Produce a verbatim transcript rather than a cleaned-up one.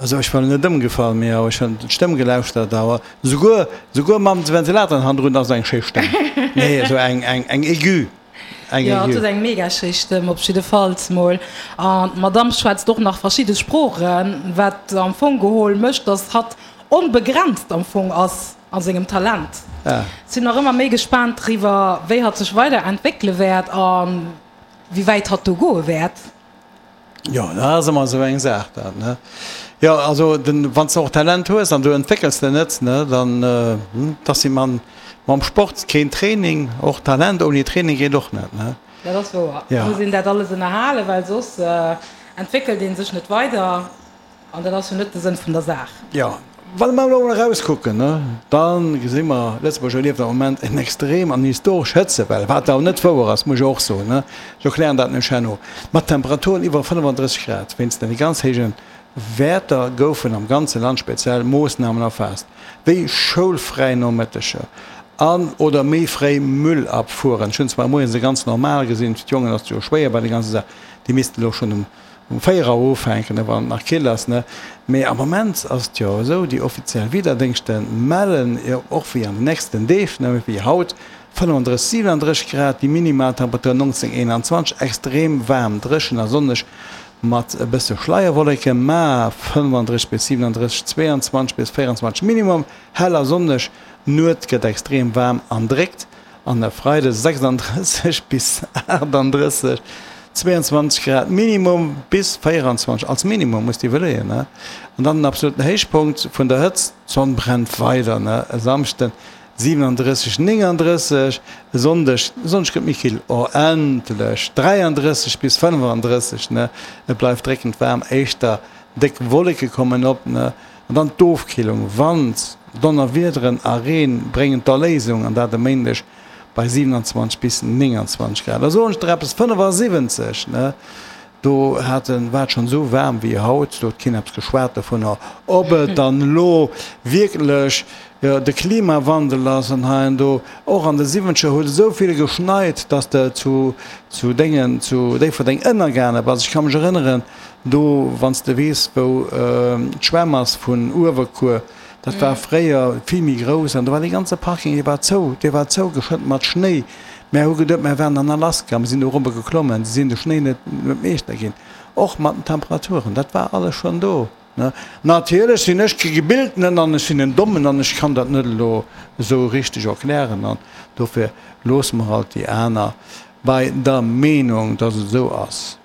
Also ech war net ëmgefall, mee awer ech hunn d'Stëmm gelauschtert, awer souguer, souguer mam Ventilator hannendrun ass eng schéi Stëmm. Nee, esou eng, eng, eng aigu. Eng Jo, hatt huet eng mega schéi Stëmm, op jiddefalls mol. An d'Madame schwätzt och nach verschidde Sproochen, wat am Fong geholl mécht, dass hatt onbegrenzt am Fong ass a sengem Talent. Ja. Sinn nach ëmmer méi gespaant driwwer, wéi hatt sech weider entwéckele wäert a wéi wäit hatt do goe wäert. Jo, dat ass ëmmer esou eng Saach dat, ne? Jo, also den, wann s de och Talent hues an du entwéckels de net, ne, dann, dat ass wéi mam, mam Sport, keen Training, och Talent ouni Training geet och net, ne? Dat ass wouer. Et muss een dat alles ënnerhalen, well soss entwéckelt ee sech net weider an dat ass jo net de Sënn vun der Saach. Jo, Wann mer elo erauskucken, da gesi mer, Lëtzebuerg erlieft am Moment eng extrem an historesch Hëtzewell, wat awer net wouer ass, muss ech och soen, ech erklären dat nämlech herno, mat Temperaturen iwwer fënnefandrësseg Grad. Wéinst den ganz héije Wäerter goufen am ganze Land speziell Moossnamen erfaasst, wéi schoulfräi Nomëtteger an oder méi fréi Müllabfuhren. Ech hunn zwar moies e ganz normal gesinn, fir d'Jongen ass et jo schwéier bei der ganzer Saach, déi missten elo schonn um Um véier Auer ufänken, ne, wann et nach kill ass, ne. Mee am Moment ass et jo esou, déi offiziell Wiederdéngschte mellen jo och wéi an den nächsten Deeg, ne, wéi haut, fënnefandrësseg, siwenandrësseg Grad, déi Minimaltemperatur neunzéng, eenanzwanzeg, extrem waarm, dréchen a sonneg mat e bësse Schleierwolleken, mä fënnefandrësseg bis siwenandrësseg, zweeanzwanzeg bis véieranzwanzeg Minimum, hell a sonneg. D'Nuet gëtt extrem waarm an dréckt an e Freide sechsandrësseg bis aachtandrësseg. zweiundzwanzeg Grad Minimum bis véieranzwanzeg als Minimum, muss de iwwerleeën, ne? An dann den absoluten Héichpunkt vun der Hëtzt, d'Sonn brennt weider, ne? E Samschden siwenandrësseg, néngandrësseg, e Sonndeg, e Sonndeg gëtt méi kill, oh endlech, dräiandrësseg bis fënnefandrësseg, ne? Et bleift dréckend waarm, éischter déck Wolleke kommen op, ne? An dann d'Ofkillung, Wand, Donnerwiederen a Reen bréngen d'Erléisung, an dat e Méindeg bei siewenundzwanzeg bis nénganzwanzeg Grad. Da soen ech der eppes, fënnefasiwwenzeg, ne, do hat en, war et schonn esou waarm wéi haut, do huet keen eppes geschwat dovunner, ob et dann elo wierklech de Klimawandel ass an hei an do. Och an de Siwwenzeger huet et esou vill geschneit, dass de zu, zu Déngen, zu Déifferdeng ënnergaange bass. Ech ka mech erënneren, do, wann s de weess, wou d'Schwämm ass vun Uewerkuer, Dat war fréier vill méi grouss an do war dee ganze Parking, dee war zou, dee war zougeschëtt mat Schnéi. Mär hu geduet, mär wären an Alaska, mir sinn do erobber geklommen, si sinn de Schnéi net meeschter ginn. Och mat den Temperaturen, dat war alles schonn do, ne. Natierlech sinn ech kee Gebildenen an ech sinn en Dommen an ech kann dat net elo esou richteg erklären an dofir loosse mer halt déi aner bei der Meenung, dass et esou ass.